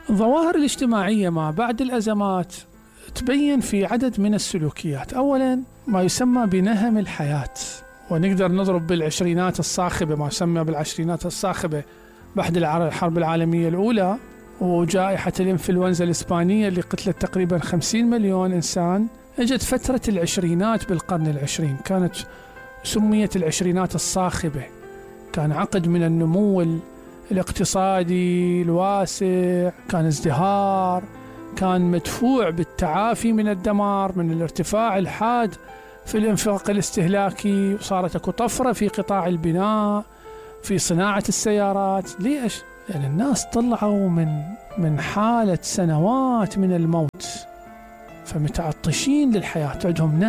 الظواهر الاجتماعية ما بعد الأزمات تبين في عدد من السلوكيات. أولا ما يسمى بنهم الحياة، ونقدر نضرب بالعشرينات الصاخبة، ما يسمى بالعشرينات الصاخبة بعد الحرب العالمية الأولى وجائحة الإنفلونزا الإسبانية اللي قتلت تقريبا 50 مليون إنسان. اجت فترة العشرينات بالقرن العشرين، كانت سميت العشرينات الصاخبة. كان عقد من النمو الاقتصادي الواسع، كان ازدهار، كان مدفوع بالتعافي من الدمار، من الارتفاع الحاد في الانفاق الاستهلاكي، وصارت اكو طفرة في قطاع البناء، في صناعة السيارات. ليش؟ يعني الناس طلعوا من حالة سنوات من الموت، فمتعطشين للحياة، عندهم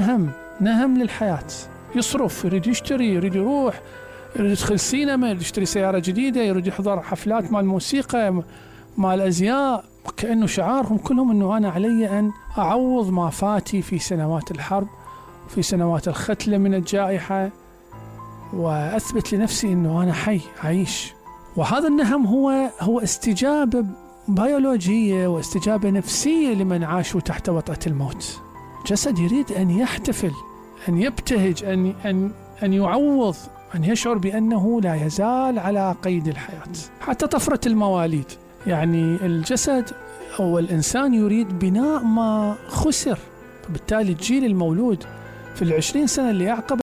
نهم للحياة. يصرف، يريد يشتري، يريد يروح، يريد يدخل سينما، يريد يشتري سيارة جديدة، يريد يحضر حفلات مال موسيقى، مال أزياء. كأنه شعارهم كلهم أنه أنا علي أن أعوض ما فاتي في سنوات الحرب، في سنوات الختلة من الجائحة، وأثبت لنفسي أنه أنا حي عايش. وهذا النهم هو استجابة بيولوجية واستجابة نفسية لمن عاشوا تحت وطأة الموت. جسد يريد أن يحتفل، أن يبتهج، أن يعوض، أن يشعر بأنه لا يزال على قيد الحياة. حتى طفرة المواليد، يعني الجسد أو الإنسان يريد بناء ما خسر، فبالتالي الجيل المولود في 20 سنة اللي أعقب